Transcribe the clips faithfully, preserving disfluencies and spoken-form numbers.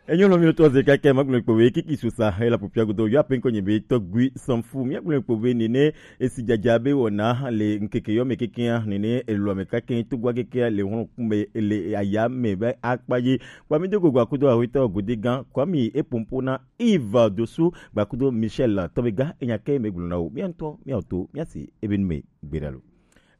Enyo lɔ mi tɔ ze kakɛ ma gblɔ kpo be kiki susa he la popia godo yo ape nkɔ nye be tɔgui sanfu mi gblɔ kpo be nene esi jaja be wɔna le nkeke yɔ me keke nene elɔ me kakɛ togua keke le hɔn kumbe le aya me be akpa ye. Kwa mi dogo gba kudo awetɔ gode gan kwa mi epompo na Yves Dosu gba kudo Michel tɔbe ga enya ke me gblɔ na wo mi antɔ mi auto mi asi ebe nu me gbe da lo.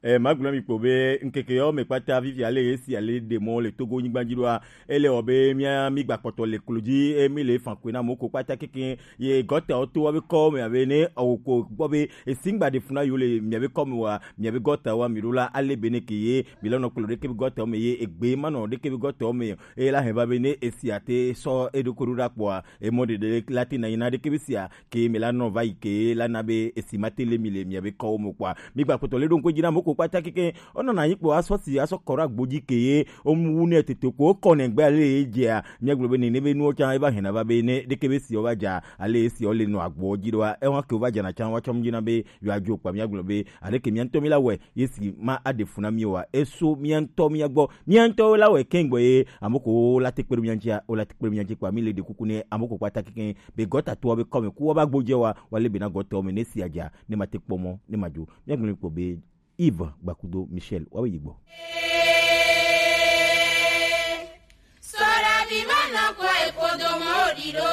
Eh, magblɔ mi kpo be nkeke yɔ me kpata vivi ale esi ale de mɔ le Togo nyigba dzi ɖoa, ele wɔ be mia mi gba kpɔtɔ le klo dzi e mi le fan kwe na mɔ ko kpata keke ye gɔta wo to wa be kɔ me abe ne awo ko gbɔ be esi ngba de funa yo le mia be kɔ me wa mia be gɔta wa mi ɖo la ale be ne ke ye mi la nɔ klo ɖeke be gɔta me ye egbe ma nɔ ɖeke be gɔta me e la hɛn va be ne esi ate sɔ e ɖo ko ɖo ɖa kpɔa e mɔ ɖeɖe la te na yi na ɖeke be sia ke mi la nɔ va yi ke la na be esi ma te le mi le mia be kɔwo mo kpɔa mi gba kpɔtɔ le ɖo ŋkɔ dzi na mo ko kpata keke o nɔ na yi kpɔ asɔ si asɔ kɔ ɖo agbo dzi ke ye o mu wu ne tete ko o kɔ ne gbe ale ye dzia mia gblɔ be ne ne be nuwo can e va hɛn na va be ne ɖeke be si o va dza ale ye si o le nɔ agbo dzi ɖoa e wa ke o va dza na can wa tsɔm dzi na be yɔ adzo kpa mia gblɔ be ale ke mia ŋutɔ mi la wɛ ye si ma aɖe fu na mi wa eso mia ŋutɔ mia gbɔ mia ŋutɔ la wɛ kɛn gbɔ ye ame ko la te kpe ɖo mia ŋutia o la te kpe ɖo mia ŋuti kpa mi le ɖe kuku ne ame ko kpata keke be gɔta toa be kɔme ku woava gbodze wa woalé be na gɔtɔwo me ne si adza ne mate kpɔ mɔ ne madzo míagblɔ kpɔ be Yves Gbakudo Michel woawo yi gbɔ. Sɔɖavi ma nɔ kɔ ekodo mɔ ɖi ɖo.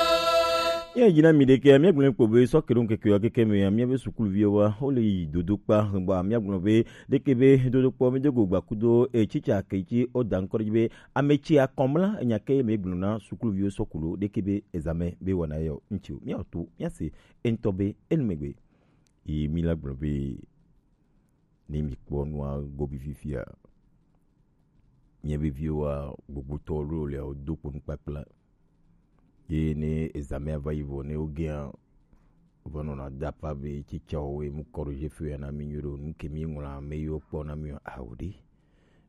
Míayi na mi ɖeke míagblɔ kpɔ be sɔkeɖo ŋkeke wa keke me míabe sukuluviwo wa wole yi dodo kpa hegba míagblɔ be ɖeke be dodo kpɔ mi dogo Gbakudo e tsitsa ke tsi o da ŋkɔ ɖe dzi be Ame tsi akɔmla enya ke me gblɔ na sukuluviwo sɔkulo ɖeke be ezame be wɔna yɔ ŋtsi o. Míawo to míase eŋutɔ be enu megbe. Yi mi la gblɔ be ne mi kpɔ nua gobi fifia. Mia be viwo wa gbogbotɔ lo le o do kponu kpakpla. Ye ne ezame va yi vɔ ne wo gea va nɔna da pa be tsitsawo mu corriger fea na mi nyuie ɖo nu ke mi ŋlɔ ame yiwo kpɔ na mi o awo ɖe.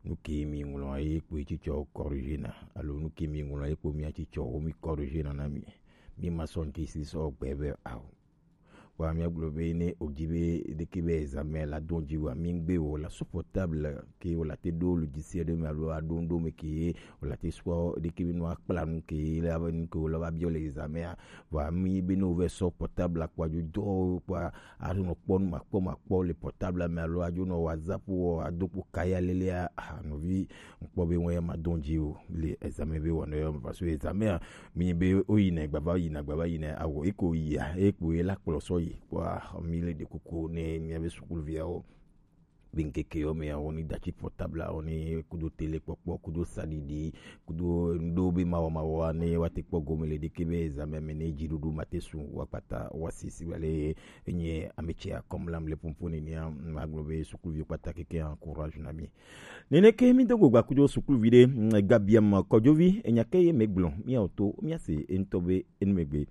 Nu ke mi ŋlɔ ye kpo tsitsawo corriger na alo nu ke mi ŋlɔ ye kpo mia tsitsawo mi corriger na na mi. Mi ma sɔ ŋti si sɔ gbe be awo. Wa mi gblɔ be ne o dzi be ɖeke be examen la do dzi wa mi gbe wo la sɔ portable ke wo la te ɖo lu dzi se ɖe me alo aɖo ŋɖo me ke ye wo la te sɔ ɖeke be nɔ akpla nu ke ye la be nu ke wo la va biɔ le examen a. Vɔa mi be ne wovɛ sɔ portable kpɔ adzo dɔ kpɔ adzo nɔ kpɔ nu makpɔ makpɔ le portable me alo adzo nɔ WhatsApp wɔ ado kpo kaya lelea ah nɔvi ŋkpɔ be wɔn ya ma dɔn dzi o le examen be wɔna yɔ parce que examen a mi be woyina gbava yina gbava yina awɔ eko yia eko ye la kplɔ sɔ yi kpɔ mi le ɖe kuku ne mia be sukuviawo. Be ŋkeke yɔ me awo ni datsi portable awo ni kudo télé kpɔkpɔ kudo saɖiɖi kudo ŋɖo be mawɔ mawɔ ne wa te kpɔ gome le ɖeke be examen me ne dziɖuɖu ma te su wa kpata wa sisi wale enye ame tse akɔmlam le pompo nenea magblɔ be sukuviwo kpata keke encourage na mi. Neneke mi do go gbakudo sukuluvi ɖe mm, gabiam kɔdzovi enya ke ye megblɔ miawo to miase eŋutɔ be enu megbe.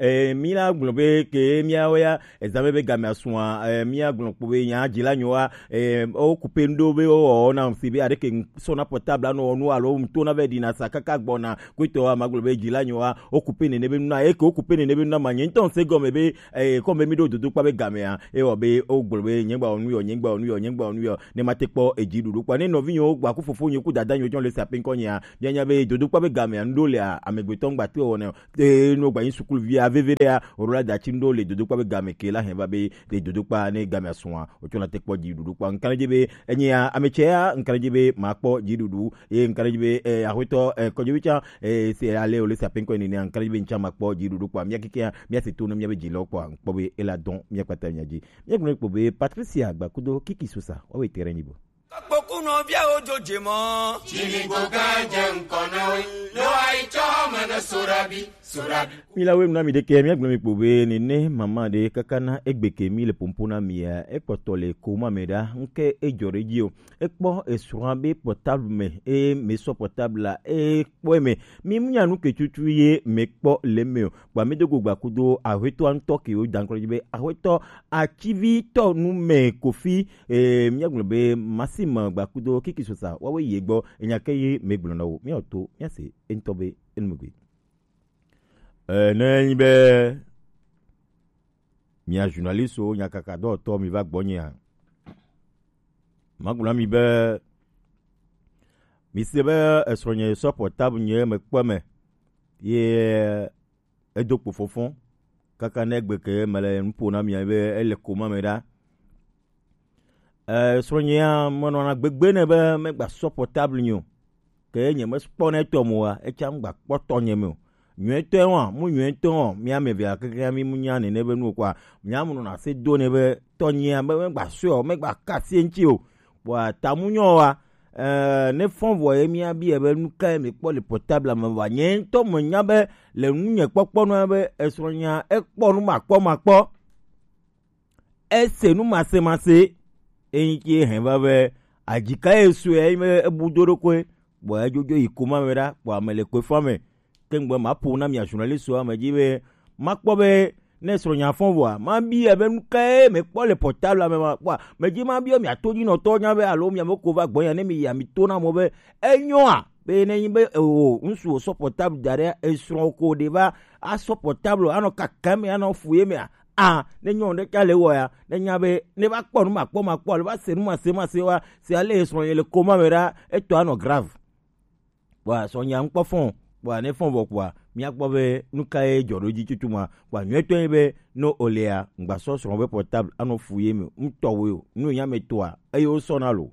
Eh, mi la gblɔ be ke miawo ya ezame be game asua eh, mia gblɔ kpo be nya dzi la nyoa eh, o kupe ndo be o na si be ade ke sona portable no nu alo mto na be dina sa kaka gbɔna kwetɔ a magblɔ be dzi la nyoa o kupe nene be nuna eke o kupe nene be nuna ma nye ŋutɔ se gɔme be eh, kɔme mi ɖo dodo kpa be game a e wɔ be o gblɔ be nyegba onu yɔ nyegba onu yɔ nyegba onu yɔ ne ma te kpɔ edzi ɖuɖu kpa ne nɔvi nyewo gba ku fofo nyewo ku dada nyewo jɔn le sa pe ŋkɔ nyea mia nya be dodo kpa be game a ŋɖo le a amegbetɔ ŋgba te wɔnɛ. Ee no gba yin sukulu via veve ɖe ya o ɖo la datsi ŋɖo le dodokpa be game ke la hɛn va be le dodokpa ne game asua o tsɔ na te kpɔ dzi ɖuɖu kpa ŋkan dzi be enye ya ame tsɛ ya ŋkan dzi be ma kpɔ dzi ɖuɖu ye ŋkan dzi be eh, aƒetɔ eh, kɔdzi bi tsa eh, se ale o le sa pe ŋkɔ ne ne ŋkan dzi be ŋtsa ma kpɔ dzi ɖuɖu kpa mia keke ya mia se to no mia be dzi lɔ kpa ŋkpɔ be ela dɔn mia kpata mia dzi mia gblɔ kpo be Patricia Gbakudo Kiki Sosa wa we tere nyi bo. Kpokpo kunɔ viawo dzodze mɔ. Tsinigo gã dze ŋkɔ na wo. Ne woayi tsɔ ame ne Sorabi, Sorabi. Mi la wenu na mi ɖeke, míagblɔ mi kpo be nene mama ɖe kaka na egbe ke mi le pompo na mia, ekpɔtɔ le koma me ɖa, ŋke edzɔ ɖe dzi o. Ekpɔ esrɔ̃a be portable me, eye mesɔ portable la, ekpɔe me. Mi mu nya nu ke tutu ye mekpɔ le me o. Kpa mi do go gba kudo aƒetɔa ŋutɔ ke wo da ŋkɔ dzi be aƒetɔ atsivitɔ nu me kofi Ee, míagblɔ be Maxime Gbakudo Kiki Sosa woawoe yi egbɔ enya ke ye megblɔ na wo míawo to míase eŋutɔ be enu megbe. Ee, ne enyi be mia journalistwo nyakaka dɔwɔtɔ mi va gbɔnyea, magblɔ na mi be Ise be esrɔ̃nye sɔ portable nye mekpɔ me ye edo kpo fɔfɔ kaka ne egbe ke mele nu ƒo na mia be ele koma me ɖa. Eh, srɔ̃nyea menɔna gbegbe ne be megba sɔ portable nyo. Ke nye mekpɔ ne etɔ mo wa, etsa megba kpɔ tɔ nye me o. Nyuetɔe wa, mu nyuetɔ wa, mia me via keke mi mu nya ne ne be nu kwa, mia mu nɔna se do ne be tɔ nyea be megba sɔ, megba kasi ŋti o. Wa ta mu nyo wa, eh, ne fɔn vɔ ye mia bi be nu ka ye mi kpɔ le portable me wa. Nye ŋtɔ me nya be le nu nye kpɔkpɔ nɔ be esrɔ̃nyea ekpɔ nu makpɔ makpɔ. Ese nu masemase, eyi ke hɛn va be adzika ye sue ye me ebu do ɖokoe, bɔ ejojo yi koma me ɖa, bɔ ame le koe fa me. Ke ŋgbe ma ƒo na mia journaliste wa me dzi be ma kpɔ be ne srɔ̃nya fɔn vɔa, ma bi be nu kae me kpɔ le portable me ma kpɔa, me dzi ma bi mia to dzi nɔtɔ nya be alo mia me ko va gbɔ nya ne mi ya mi to na mo be enyoa be ne nyi be o ŋsu o sɔ portable da ɖe esrɔ̃ ko ɖe va asɔ portable anɔ kaka me anɔ fu ye mea, a ne nyɔnu ɖe ka le wɔ ya ne nya be ne va kpɔ nu makpɔ makpɔ alo va se nu mase mase wa se ale srɔ̃ ye le koma me ɖa etɔ anɔ grave. Wa srɔ̃ nya ŋkpɔ fɔn wa ne fɔn vɔ kua mia kpɔ be nu ka ye jɔ ɖo dzi tutu ma wa nyuetɔ ye be no olea ŋgba sɔ srɔ̃ be portable anɔ fu ye me ŋutɔ wo yo nu nya me toa eye wo sɔ na lo.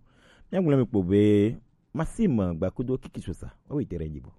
Mia gblɔ mi kpo be masi me gba kudo kiki sosa wa we tere dzi bo.